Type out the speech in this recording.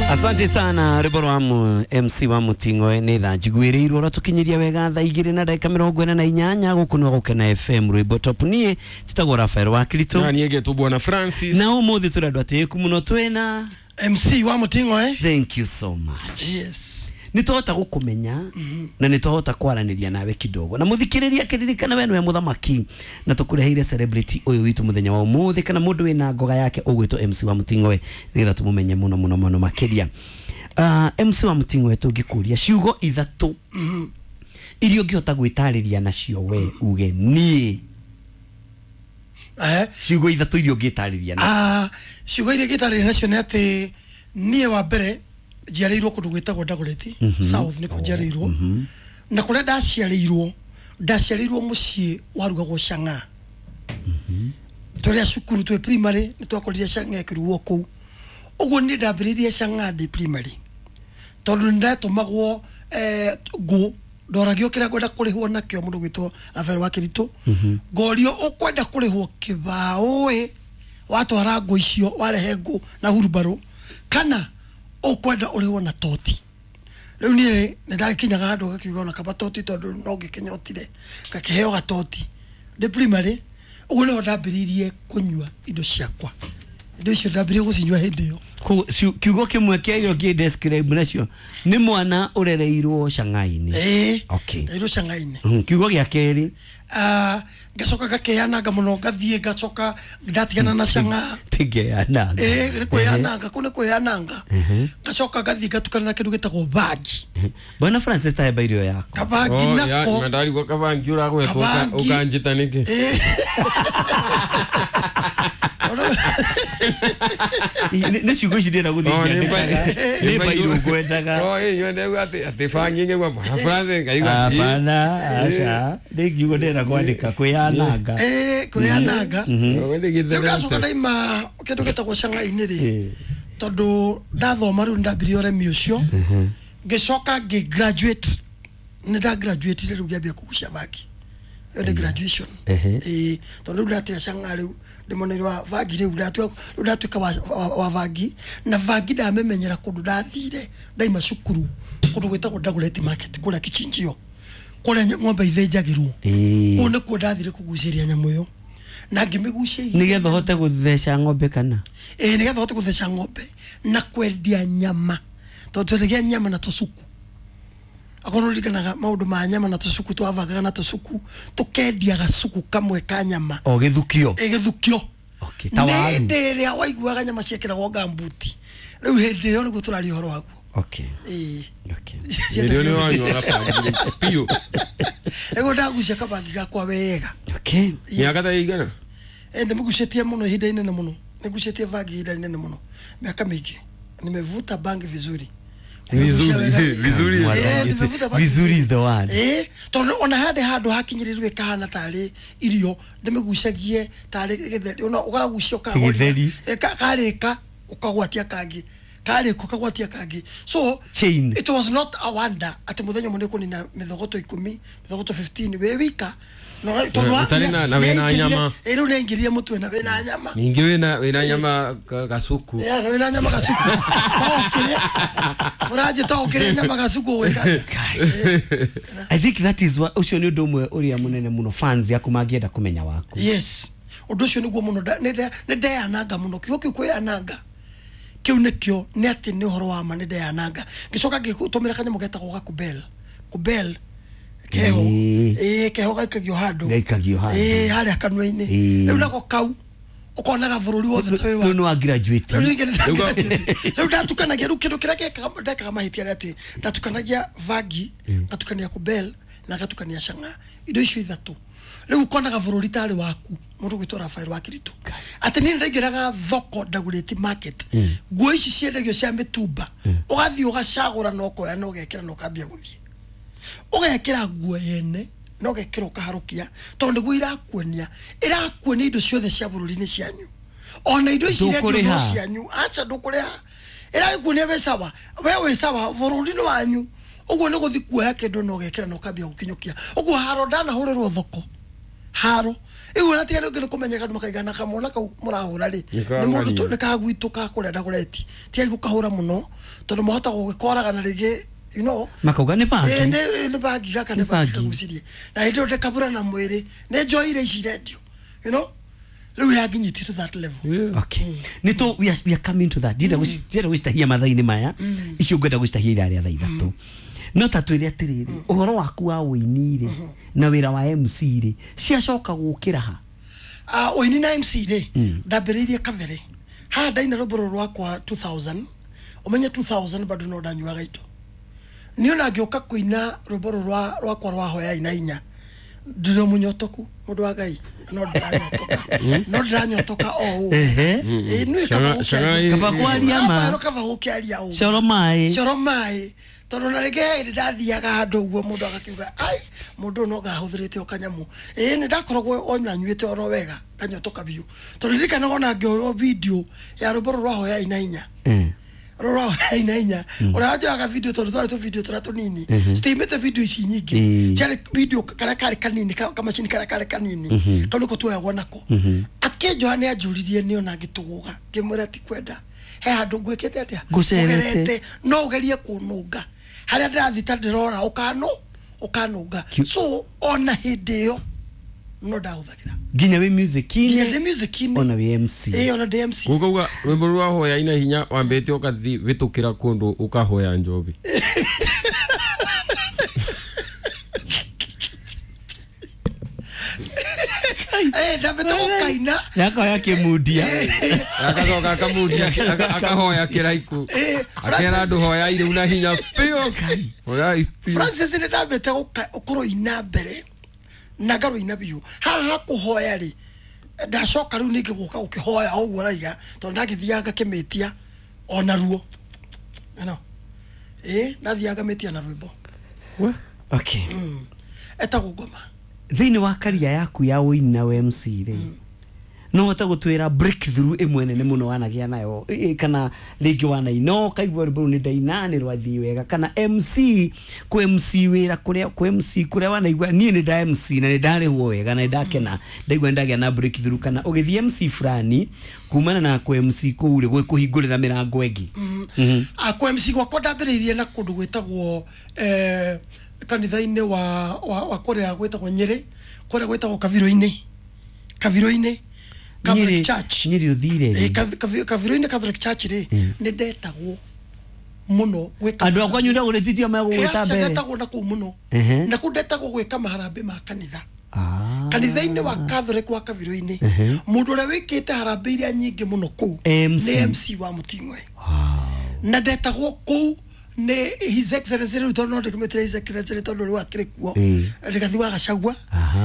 Asante sana rwĩmbo rwa MC wa Muting'oe nĩ tha njiguĩrĩirwo ũrĩa wega thaa igĩrĩ na ndagĩka mĩrongo ĩna na inyanya gũkũ nĩ Gũkena FM rwĩmbo top. Niĩ njĩtagwo Rafael wa Kristo na niĩ ngetwo Bwana Francis, na ũmũthĩ tũrĩ andũ atĩĩku mũno twĩna MC wa Muting'oe. Thank you so much. Yes. Nĩ twahota gũkũmenya na nĩ twahota kwaranĩria nawe kidogo na mũthikĩrĩria kĩririkana we nĩwe mũthamaki na tũkũreheire celebrity ũyũ witũ mũthenya wa ũmũthĩ kana mũndũ wĩna ngoga yake ũgwĩtwo MC wa Muting'oe nĩgetha tũmũmenye mũno mũno mũno makĩria. MC wa Muting'oe tũngĩkũria ciugo ithatũ iria ũngĩhota gwĩtarĩria nacio we uge niĩ. Ciugo ithatũ iria ũngĩtarĩria nacio. Ciugo iria ingĩtarĩria nacio nĩ atĩ niĩ wa mbere njiarĩirwo kũndũ gwĩtagwo Dagoretti South nĩkuo njiarĩirwo, na kũrĩa ndaciarĩirwo mũciĩ warugagwo cang'a. Tũrĩa cukuru twĩ primary nĩ twakorire cang'a ĩkĩrugwo kũu, ũguo niĩ ndambĩrĩirie cang'a ndĩ primary tondũ nĩ ndatũmagwo ngũ ndoragio kĩrĩa ngwenda kũrĩhwo nakĩo mũndũ gwĩtwo Rafael wa Kĩritũ, ngorio ũkwenda kũrĩhwo kĩbaũ ĩ watwara ngũ icio warehe ngũ na hurumbarũ kana ukwenda urihwo na toti. Riu nie ni ndakinyaga handu gakiuga ona kaba toti tondu no ngikinyotire ngakiheo gatoti ndi primary. Uguo niho ndambiririe kunyua indo ciakwa, indo icio ndambiririe gucinyua hindi iyo. Kiugo kimwe kĩa ngĩ describe nacio ni mwana urereirwo Shanghai-inĩ. Okay. Ndereirwo Shanghai-inĩ. Kiugo gĩa kerĩ. Ngacoka ngakeananga mũno ngathiĩ ngacoka ndatigana na Shanghai. Tingeananga. Nĩ kwĩananga, kũu nĩ kwĩananga. Ngacoka ngathiĩ ngatukana na kĩndũ gĩtagwo bangi. Bwana Francis ta heba irio yako. Kabangi nako. Na ndarigwo kabangi ũragwetwo ũkanjĩta nĩkĩ? Nĩ ciugo ici ndĩrenda gũthiĩ ngĩandĩkaga. Nĩ bairũ ngwendaga. Atĩ bangi ngĩgua Bwana Francis ngaigua. Hapana, aca. Nĩ kiugo ndĩrenda kwandĩka kwĩananga. Kwĩananga. Rĩu ndacoka ndaima kĩndũ gĩtagwo Shanghai-inĩ rĩ, tondũ ndathoma rĩu ndambirie ũremi ũcio, ngĩcoka ngĩ graduate. Nĩ nda graduate rĩu ngĩambia kũgucia bangi. Ĩyo nĩ graduation. Tondũ rĩu ndatiga Shanghai rĩu ndĩmoneire wa bangi rĩu ndatuĩka wa bangi, na bangi ndamĩmenyera kũndũ ndathire ndaima cukuru kũndũ gwĩtagwo Dagoretti Market kũrĩa Kichinjio kũrĩa ng'ombe ithĩnjagĩrwo. Kũu nĩkuo ndathire kũgucĩria nyamũ ĩyo na ngĩmĩgucia nĩgetha ũhote gũtheca ng'ombe kana? Nĩgetha ũhote gũtheca ng'ombe na kwendia nyama tondũ twendagia nyama na tũcuku. Akorwo ririkanaga maũndũ ma nyama na tũcuku, twabangaga na tũcuku tũkendia gacuku kamwe ka nyama. O gĩthukio. Gĩthukio. Okay, ta waru. Hĩndĩ ĩrĩa waiguaga nyama ciekĩragwo ngambuti rĩu hĩndĩ ĩyo nĩguo tũraria ũhoro waguo. Okay. Okay. Hĩndĩ ĩyo nĩ wanyuaga bangi biũ. Nĩguo ndagucia kabangi gakwa wega. Okay. Mĩaka ta ĩigana? Ndĩmĩgucĩtie mũno ihinda inene mũno. Nĩgucĩtie bangi ihinda inene mũno. Miaka mĩingĩ. Nimevuta bangi vizuri. Vizuri. Vizuri is the word. Tondũ ona handĩ handũ hakinyĩrĩrwo ĩkahana tarĩ irio ndĩmĩgucagie tarĩ gĩtheri, ona ũkagucia ũkagwatia karĩka ũkagwatia kangĩ, karĩka ũkagwatia kangĩ. So chain. It was not a wonder atĩ mũthenya ũmwe nĩũkũnina mĩthogoto 10, mĩthogoto 15 wĩ wika. Na wĩna nyama. Rĩu nĩaingĩrire mũtwe na wĩna nyama. Ningĩ wĩna nyama gacuku. Na wĩna nyama gacuku. Ũranjĩta ũkĩrĩa nyama gacuku ũgwĩka atĩa? I think that is what ũcio nĩ ũndũ ũmwe ũrĩa mũnene mũno fans yaku mangĩenda kũmenya waku. Yes. Ũndũ ũcio nĩguo mũno nĩ ndeananga mũno. Kiugo kĩu kwĩananga kĩu nĩkĩo nĩ atĩ nĩ ũhoro wa ma nĩ ndeananga. Ngĩcoka ngĩtũmĩra kanyamũ getagwo gakubel. Kubel keho. Keho gaikagio handũ. Gaikagio handũ. Harĩa kanua-inĩ. Rĩu nako kau ũkonaga bũrũri wothe ta wĩ wa. Rĩu nĩ wa graduate. Rĩu ndatukanagia rĩu kĩndũ kĩrĩa ndekaga mahĩtia nĩ atĩ ndatukanagia bangi, ngatukania kubel na ngatukania Shanghai. Indo icio ithatũ. Rĩu ũkonaga bũrũri tarĩ waku mũndũ gwĩtwo Rafael wa Kĩritũ. Atĩ niĩ ndaingĩraga thoko Dagoretti Market, nguo ici ciendagio cia mĩtumba, ũgathiĩ ũgacagũra na ũkoya na ũgekĩra na ũkambia gũthiĩ. Ũgekĩra nguo yene na ũgekĩra ũkaharũkia tondũ nĩguo irakuonia indo ciothe cia bũrũri-inĩ cianyu, ona indo ici irendio no cianyu. Aca ndũkũrĩha, ĩragĩkuonia wĩ sawa, we wĩ sawa bũrũri-inĩ wanyu. Ũguo nĩ gũthiĩ kuoya kĩndũ na ũgekĩra na ũkambia gũkinyũkia. Ũguo haro ndanahũrĩrwo thoko, Haro iu na tiga ngi kumenyeka andu makaigana kamwana kau murahura ri ni mundu tu ni kagwitu ka kuria ndagureti tiga gukahura muno tondu mahota gugikoraga na ringi you know makauga ni bangi ni bangi gaka ni bangi kagucirie na hindi ndikabura na mwiri ni njoire ici rendio you know riu yanginyiti to that level. Yeah. Okay. Nito we are coming to that. Ndira gucitahia mathaa-inĩ maya icio ngwenda gucitahia ithaa rĩa thaa ithatũ. No ta twĩre atĩrĩrĩ, ũhoro waku wa ũini rĩ na wĩra wa MC rĩ ciacoka gũkĩra ha? Ũini na MC rĩ ndambĩrĩirie kabere haha ndaina rwĩmbo rũrũ rwakwa 2000 ũmenye 2000 bado no ndanyuaga indo niĩ ona ngĩũka kũina rwĩmbo rũrũ rwakwa rwa hoyai na inya ndĩrĩ mũnyotoku mũndũ wa Ngai no ndiranyotoka no ndiranyotoka o ũũ ĩ nĩ kaba kwaria ma kaba gũkĩaria ũũ coro maĩ coro maĩ tondũ na rĩngĩ hĩndĩ ndathiaga handũ ũguo mũndũ agakiuga ai mũndũ ũyũ no ngahũthĩrĩte o kanyamũ ĩ nĩ ndakoragwo ona nyuĩte oro wega kanyotoka biũ tondũ ndirikanaga ona ngĩoywo video ya rwĩmbo rũrũ rwa hoyai na inya rũrũ rwa hoyai na inya ũrĩa wanjoyaga video tondũ twarĩ tũ video tũrĩa tũnini citiimĩte video ici nyingĩ ciarĩ video karĩa karĩ kanini kamacini karĩa karĩ kanini kau nĩko tuoyagwo nako akĩnjoya nĩ anjũririe nĩ ona ngĩtũgũga ngĩmwĩra ti kwenda he handũ ngwĩkĩte atĩa ngũcerete no ũgerie kũnũnga harĩa ndĩrathiĩ ta ndĩrora ũkanũnga so ona hĩndĩ ĩyo no ndahũthagĩra nginya wĩ music-inĩ nginya ndĩ music-inĩ ona wĩ MC ĩĩ ona ndĩ MC Kuga rwĩmbo rwa hoya ina hinya wambĩte ũkathi wĩtũkĩra kũndũ ũkahoya njobi. Ndambĩte gũkaina yakoya kĩmundia akacoka akamundia akahoya kĩraiku akera andũ hoyai rĩu na hinya biũ hoyai biũ. Francis nĩ ndambĩte kũrũina mbere na ngarũina biũ haha kũhoya rĩ ndacoka rĩu ningĩ gũka gũkĩhoya o ũguo raiga tondũ ndagĩthiaga ngakĩmĩtia ona ruo you ĩ ndathiaga ngamĩtia na rwĩmbo. Okay. Etagwo ngoma. Thĩinĩ wa karia yaku ya ũini na MC rĩ no hote gũtwĩra breakthrough ĩmwe nene mũno wanagĩa nayo kana rĩngĩ wanaina ũkaigua rwĩmbo rũu nĩ ndaina nĩ rwathiĩ wega kana MC kũ MC wĩra kũrĩa kũ MC kũrĩa wanaigua niĩ nĩ nda MC na nĩ ndarĩhwo wega na nĩ ndakena ndaigua nĩ ndagĩa na breakthrough kana ũgĩthiĩ MC fulani kumana na kũ MC kũu rĩ kũhingũrĩra mĩrango ĩngĩ. Kũ MC gwakwa ndambĩrĩirie na kũndũ gwĩtagwo kanitha-inĩ wa kũrĩa gwĩtagwo Nyĩrĩ kũrĩa gwĩtagwo Kavirũ-inĩ Catholic Church Nyĩrĩ ũthire Kavirũ-inĩ Catholic Church rĩ nĩ ndetagwo mũno gwĩka andũ akwa nyunda gũrĩtithio megũgwĩta mbere ndetagwo na kũu mũno na kũu ndetagwo gwĩka maharambĩ ma kanitha kanitha-inĩ wa Catholic wa Kavirũ-inĩ mũndũ ũrĩa wĩkĩte harambĩ iria nyingĩ mũno kũu nĩ MC wa Mũting'oe na ndetagwo kũu nĩ His Excellency rĩu tondũ no ndĩkĩmĩtĩre His Excellency tondũ rĩu akĩrĩ kuo Rigathi wa Gachagua.